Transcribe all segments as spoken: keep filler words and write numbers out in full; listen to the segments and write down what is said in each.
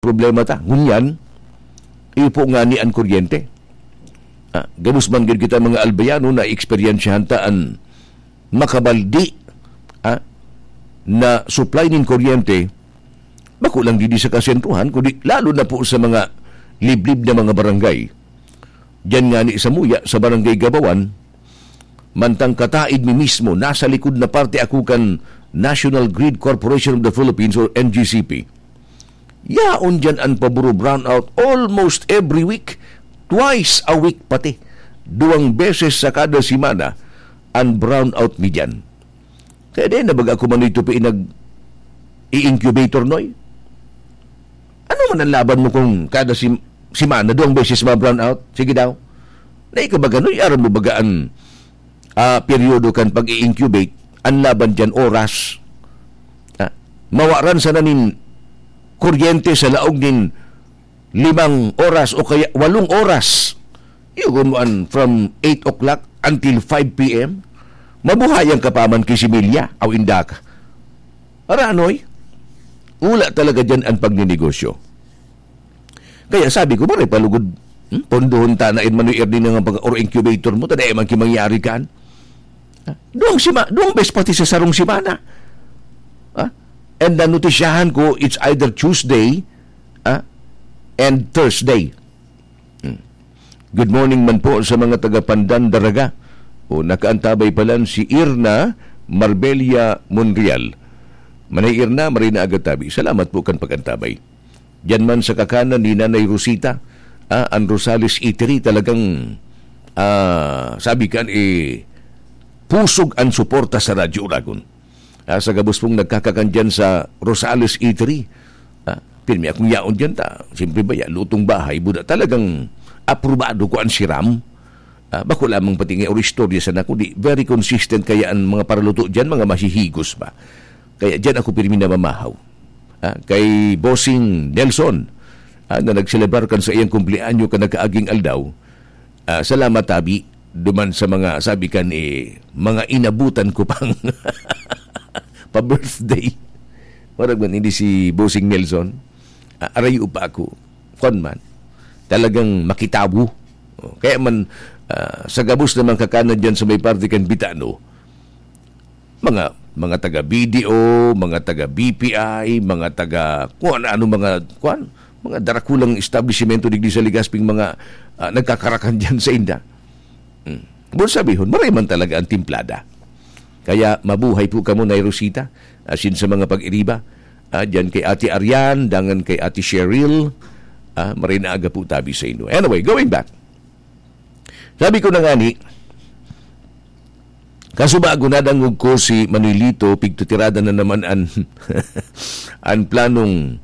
problema ta. Ngunyan, iyo po ngani an kuryente. Ah, gabos man gid kita mga Albayano na eksperyensyahan ta an makabaldi, ah, na supply nin kuryente, bako lang didi sa kasentruhan, kundi lalo na po sa mga liblib na mga barangay. Diyan ngani sa Muya, sa Barangay Gabawan, mantang kataid mi mismo, nasa likod na parte ako kan National Grid Corporation of the Philippines or N G C P. Yaon diyan an paboro brownout almost every week, twice a week pati. Duwang beses sa kada semana an brownout mi diyan. Kaya di na baga ako manoy tupi nag-i-incubator, Noy? Ano man ang laban mo kung kada sim-, semana, duwang beses ma-brownout? Sige daw. Na ikaw baga, Noy, aram mo baga an, ah, peryodo kan pag-i-incubate? Ang laban diyan, oras. Ah, mawaran sana nin kuryente sa laog nin limang oras o kaya walong oras. Iyo, kung mo an from eight o'clock until five p m, mabuhayan ka pa man ki similya, aw inda ka. Ara, Noy, wala talaga diyan an pagninegosyo. Kaya sabi ko, "Maray palugod, hmm, pondohon ta na in manoy Ernie nga pag-, or incubator mo, ta dai man ki mangyari kan." Ha? Duwang sima-, duwang bes pati sa sarong semana. Ha? And nanutisyahan ko, it's either Tuesday, ha? And Thursday. Hmm. Good morning man po sa mga taga Pandan, Daraga. O, nakaantabay palan si Irna Marbella Monreal. Manay Irna, maray na aga tabi. Salamat po kan pag-antabay. Diyan man sa kakanan ni Nanay Rosita, ah, ang Rosales Eatery talagang, ah, sabi kan, eh, pusog ang suporta sa Radyo Uragon. Ah, sa gabos pong nagkakakan diyan sa Rosales Eatery, ah, pirmi akong yaon diyan ta. Siyempre ba, ya, lutong bahay, buda talagang aprobado ko ang siram. Ah, bako lamang pati nga or istorya sana, kundi very consistent kaya ang mga paraluto diyan, mga masihigos ba. Kaya diyan ako pirmi namamahaw. Ah, kay Bossing Nelson, ah, na nagselebrar kan sa iyang kumpleanyo kan nakaaging aldaw. Ah, salamat, tabi, duman sa mga, sabi kan, eh, mga inabutan ko pang pa-birthday. Marag man, hindi si Bossing Nelson. Ah, arayo pa ako. Kwan man, talagang makitawo. Oh, kaya man, ah, sa gabos na mga kakanan dyan sa may parte kan Bitano, mga, mga taga B D O, mga taga B P I, mga taga kung ano-ano, mga, kuwan, mga darakulang establisimento digdi sa Legazpi, mga, ah, nagkakarakan diyan sa inda. Hmm. Bon sabihon, maray man talaga ang timplada. Kaya mabuhay po kamo, Nay Rosita, asin sa mga pag-iriba. Ah, diyan kay Ate Arian, dangan kay Ate Cheryl. Ah, maray na aga po tabi sa inyo. Anyway, going back. Sabi ko na nga ni, kasubago nadangog ko si Manuelito, pigtutirada na naman an, an planong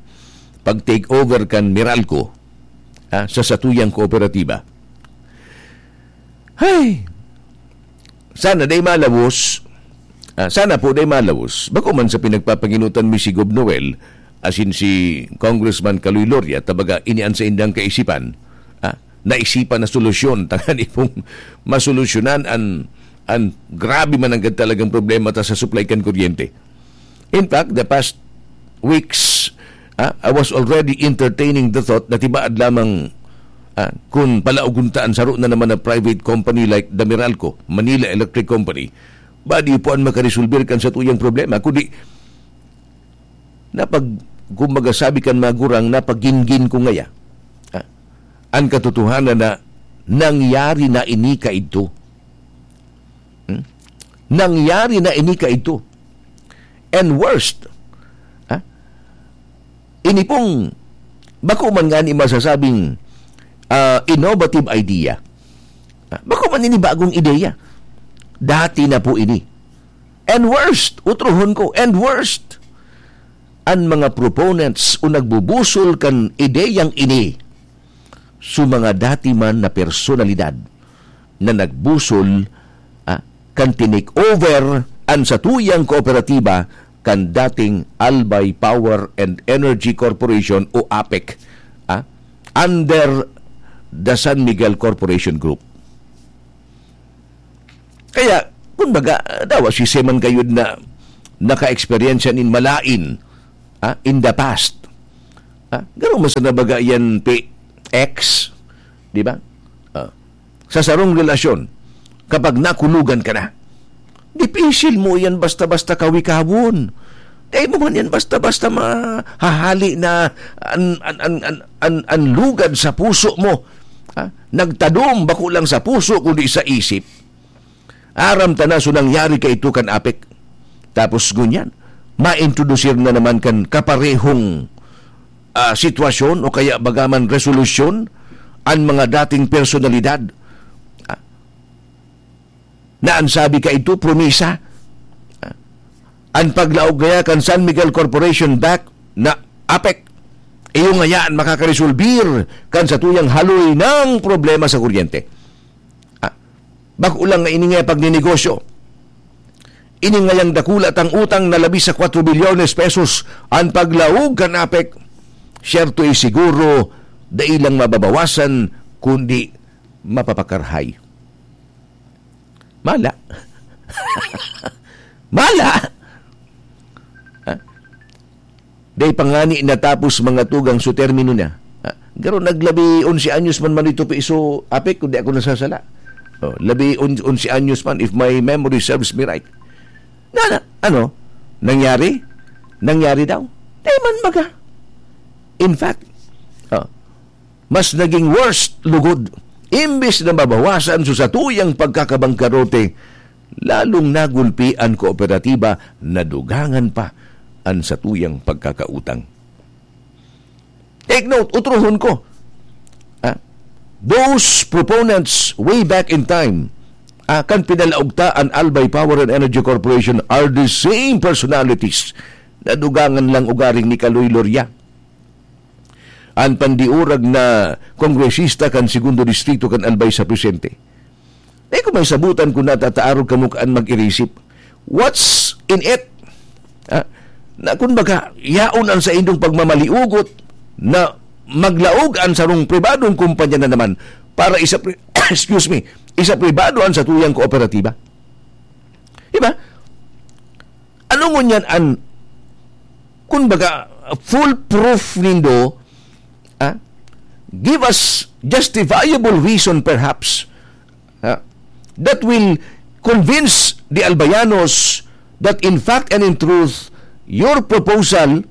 pag-take over kan Meralco, ah, sa satuyang kooperatiba. Hay! Sana day malawos, ah, sana po day malawos. Bako man sa pinagpapanginutan mi si Gob Noel, asin si Congressman Kaloy Loria, tabaga ini an saindang kaisipan, ah, naisipan na solusyon, tangan ipong masolusyonan an, an grabe man ang talagang problema ta sa supply kan kuryente. In fact, the past weeks, ah, I was already entertaining the thought na tibaad lamang, ah, kung palaugon ta an saro na naman na private company like the Meralco, Manila Electric Company, badi po an makaresolver kan satuyang problema, kundi napag-, kumbaga sabi kan mga gurang, napagingin ko ngaya. Ah, an katotohanan na nangyari na ini kaidto. Hmm? Nangyari na ini kaidto. And worst, ha? Ini pong, bako man nga ni masasabing, ah, innovative idea. Ha? Bako man ini bagong ideya. Dati na po ini. And worst, utrohon ko, and worst, an mga proponents o nagbubusol kan ideyang ini, su mga dati man na personalidad na nagbusol, ah, kan tinake over an satuyang kooperatiba kan dating Albay Power and Energy Corporation o APEC, ah, under the San Miguel Corporation Group. Kaya, kumbaga, dawa si Seman Gayud na naka-eksperyensya nin malain, ah, in the past. Ha? Garo man sana baga yan, P X. Di ba? Ah. Sa sarong relasyon, kapag nakulugan ka na, dipisil mo yan basta-basta kawikawon. Dai mo man yan basta-basta mahahali na an, an, an, an, an, an lugad sa puso mo. Ha? Nagtadom, bako lang sa puso, kundi sa isip. Aram ta na so nangyari kaito kan Apek. Tapos ngunyan, maintrodusir na naman kan kaparehong, ah, sitwasyon o kaya bagaman resolusyon an mga dating personalidad. Ah, na an sabi kaito, promisa. Ah, an paglaog kaya kan San Miguel Corporation back na Apek, iyo ngaya an makakaresolbir kan satuyang haloy ng problema sa kuryente. Ah, bako lang nga ini nga pagninegosyo. Ini ngayang dakula tang utang na labi sa kwatro bilyones pesos an paglaog kan Apek. Siyerto, eh, siguro, dai lang mababawasan, kundi mapapakarhay. Mala. Mala! Ha? Dai pa ngani natapos mga tugang so termino niya. Ha? Garo naglabi onse anyos man man ito piso, Apek, kundi ako nasasala. Oh, labi on-, onse anyos man, if my memory serves me right. Na, na, ano? Nangyari? Nangyari daw? Di man baga. In fact, oh, mas naging worse, lugod. Imbis na mabawasan so satuyang pagkakabangkarote, lalong nagulpi an kooperatiba, nadugangan pa an satuyang pagkakautang. Take note, utrohon ko. Ah, those proponents way back in time, ah, kan pinalaog ta an Albay Power and Energy Corporation are the same personalities na dugangan lang ugaring ni Kaloy Loria, an pandiurag na kongresista kan Segundo Distrito kan Albay sa presente. Dai ko mahisabotan kun natataarog kamo kan mag-irisip. What's in it? Ah, na kun baga, yaon an saindong pagmamaliugot na maglaog an sarong pribadong kumpanya na naman para isapri-, excuse me, isapribado an satuyang kooperatiba. Di ba? Ano ngunyan an, kun baga, foolproof nindo, ah? Give us justifiable reason, perhaps, ah, that will convince the Albayanos that in fact and in truth, your proposal,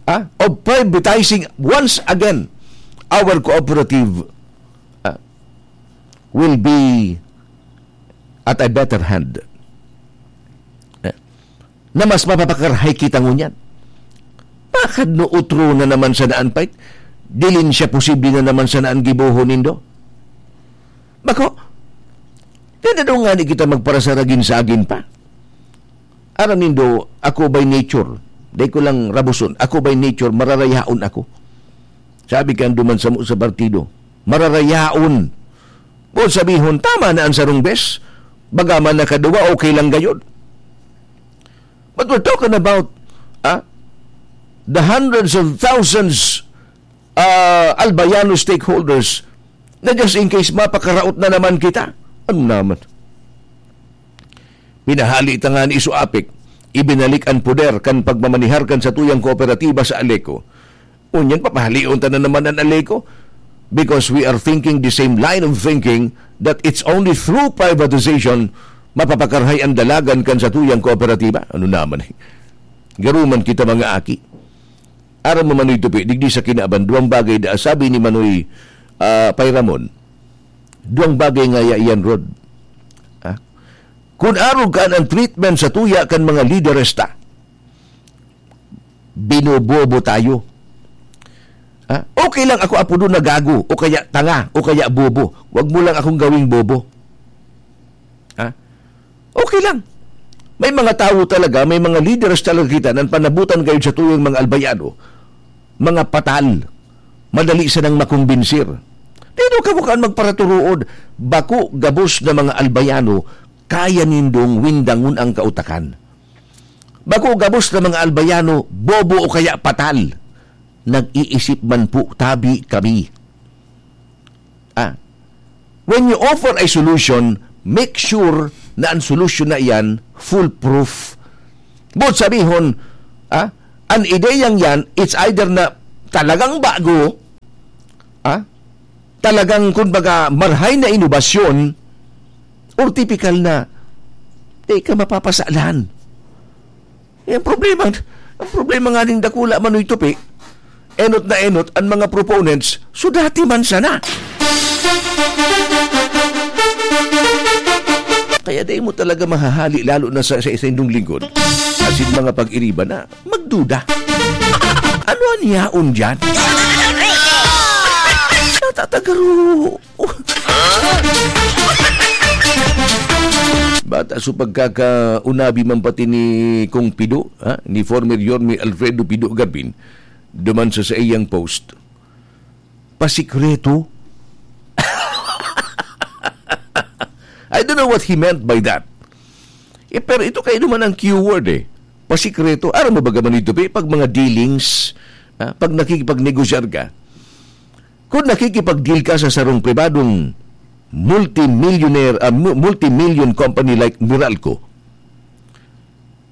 ah, of privatizing once again our cooperative, ah, will be at a better hand. Eh, na mas mapapakarhay kita ngunyan. Bakit no utro na naman sana an pait? Dilin siya posible na naman sana an gibohon nindo? Bako, di na daw ngani kita magparasaragin-sagin pa. Aram nindo, ako by nature, dai ko lang rabuson, ako by nature, mararayaon ako. Sabi kan duman samo sa partido, mararayaon. Boot sabihon, tama na ang sarong bes. Bagaman nakaduwa, okay lang gayod. But we're talking about, ah, the hundreds of thousands, ah, Albayano stakeholders na just in case mapakaraot na naman kita. Ano naman? Pinahali ta ngani so Apek, ibinalik an poder kan pagmamanihar kan satuyang kooperatiba sa Aleco. Ngunyan, papahalion ta na naman an Aleco because we are thinking the same line of thinking that it's only through privatization mapapakarhay an dalagan kan satuyang kooperatiba. Ano naman eh? Garuman kita, mga aki. Aram mo, Manoy Tupi, digdi sa kinaban, duwang bagay da, sabi ni Manoy, ah, Pay Ramon, duwang bagay ngaya iyan, Rod. Ha? Kun arog kan an treatment sa tuya kan mga lideres ta, binobobo tayo. Ha? Okay lang ako apodon na gago, o kaya tanga, o kaya bobo. Wag mo lang akong gawing bobo. Ha? Okay lang. May mga tawo talaga, may mga leaders talaga kita na panabutan kayo sa tuyang mga Albayano, mga patal. Madali sanang makumbinsir. Di daw kamo kaan magparaturood, bako gabos na mga Albayano, kaya nindong windangon ang kautakan. Bako gabos na mga Albayano, bobo o kaya patal. Nag-iisip man po tabi kami. Ah, when you offer a solution, make sure na ang solusyon na iyan foolproof. Boot sabihon, ah, ang ideyang yan, it's either na talagang bago, ah, talagang, kumbaga, marhay na inobasyon, or tipikal na, di ka mapapasalan. Ang problema, ang problema nga ning dakula, Manoy Tupi, enot na enot ang mga proponents, so dati man sana. Kaya dai mo talaga mahahali, lalo na sa, sa, sa indong lingkod. As in, mga pag-iriba na, magduda. Ano an yaon diyan? Natatagaro. Bata, so pagkakaunabi man pati ni Kong Pido, ha? Ni former Yorme Alfredo Pido Garbin, duman sa saiyang post, pasikreto. I don't know what he meant by that. Eh, pero ito kayo naman ang keyword eh. Pasikreto. Aram mo ba, Manoy Tupi, pag mga dealings, ah, pag nakikipagnegosyar ka, kung nakikipag-deal ka sa sarong pribadong multimillionaire, ah, mu-, multimillion company like Meralco,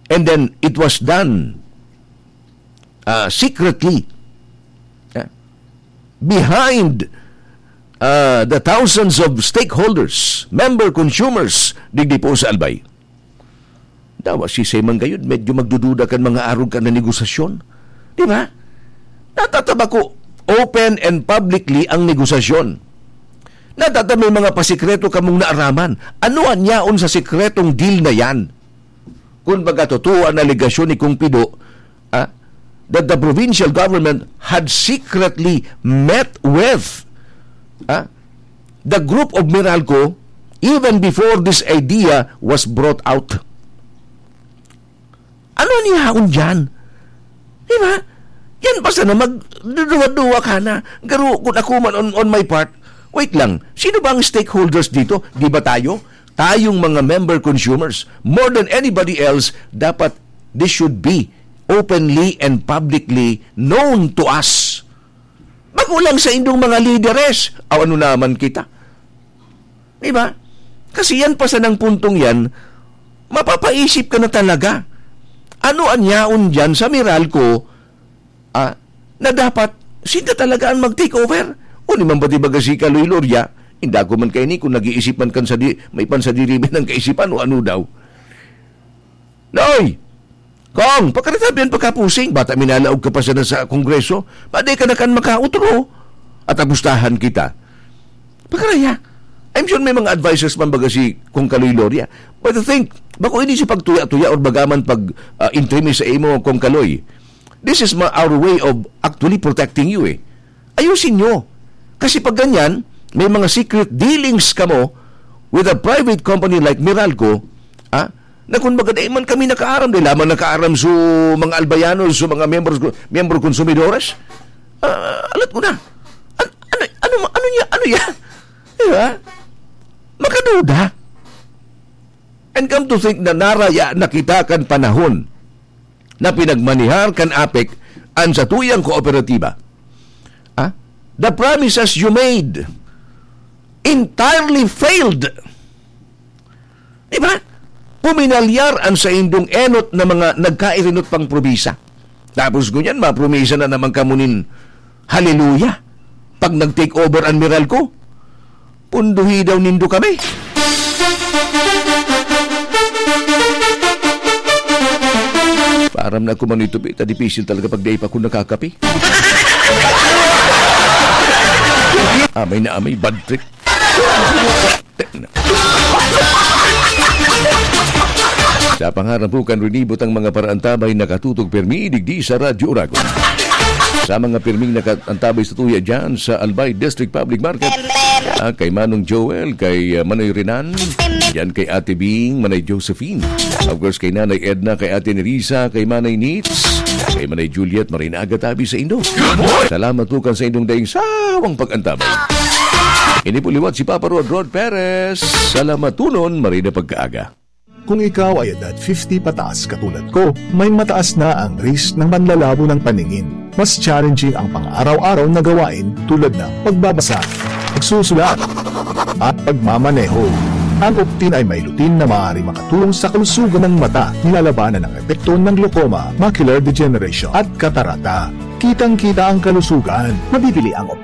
and then it was done, ah, secretly, ah, behind, ah, the thousands of stakeholders, member consumers, digdi po sa Albay. Dawa si Simon gayud, medyo magdududa kan mga arog kan na negosasyon. Di ba? Natataba ko, open and publicly ang negosasyon. Natata may mga pasikreto kamong naaraman. Ano an yaon sa sikretong deal na yan? Kung baga totoo ang alegasyon ni Kong Pido, ah, that the provincial government had secretly met with, ah, the group of Meralco even before this idea was brought out. Ano an yaon diyan? Di ba? Yan pa sana magduduwa-duwa ka na. Garo, kung ako man on, on my part, wait lang, sino ba ang stakeholders dito? Di ba tayo? Tayong mga member consumers, more than anybody else, dapat this should be openly and publicly known to us. Bako lang sa indong mga lideres. Aw, ano naman kita? Di ba? Kasi yan pa sanang puntong yan, mapapaisip ka na talaga. Ano an yaon diyan sa Meralco, ah, na dapat sila talaga ang mag-take over? O ni man ba, di ba, si Kaloy Loria, inda ko man kaini kung nag-iisip man kan sa di, may pansadiri man ang kaisipan o ano daw. Noy! Kong, pakaritabihan pagkapusing, bata minalaog ka pa sana sa Kongreso, pwede ka na kan makautro. At abustahan kita. Pakaraya. I'm sure may mga advisors man baga si Kong Kaloy Loria. But I think, bako ini si pagtuya-tuya or bagaman pag, ah, intrimi sa imo, Kong Kaloy. This is ma-, our way of actually protecting you eh. Ayusin nyo. Kasi pag ganyan, may mga secret dealings kamo with a private company like Meralco, ah, na kung baga dai man kami nakaaram, dai lamang nakaaram sa mga albayanos, sa mga miyembro, miyembro konsumidores. Ah, alat ko na. An-, ano, ano, ano niya, ano yan? Di ba? Makaduda. And come to think na naraya na kita kan panahon na pinagmanihar kan APEC an satuyang kooperatiba. Ah? The promises you made entirely failed. Di ba? Puminalyar an saindong enot na mga nagkairinot pang promisa. Tapos ngunyan, mapromisa na naman kamo nin haleluya pag nag-take over an Meralco. Punduhi daw nindo kami. Param na ako man ito, ta dipisil talaga pag dai pa ako nakakape. Amay na amay, bad trip. Sa pangaran po kan rinibot ang mga paraantabay nakatutok permi digdi sa Radyo Oragon. Sa mga pirming nakaantabay sa tuya dyan sa Albay District Public Market, ah, kay Manong Joel, kay, ah, Manoy Renan, yan kay Ate Bing, Manay Josephine. Of course, kay Nanay Edna, kay Ate Nerissa, kay Manay Nits, kay Manay Juliet, maray na aga tabi sa indo. Salamat po kan sa indong daing sawang pag-antabay. Ini po liwat si Papa Rod, Rod Perez. Salamatunon, maray na pagkaaga. Kung ikaw ay edad fifty pataas katulad ko, may mataas na ang risk ng panlalabo ng paningin. Mas challenging ang pang-araw-araw na gawain tulad ng pagbabasa, pagsusulat, at pagmamaneho. Ang Optin ay may lutein na maaari makatulong sa kalusugan ng mata, nilalabanan ang epekto ng glaucoma, macular degeneration, at katarata. Kitang-kita ang kalusugan. Mabibili ang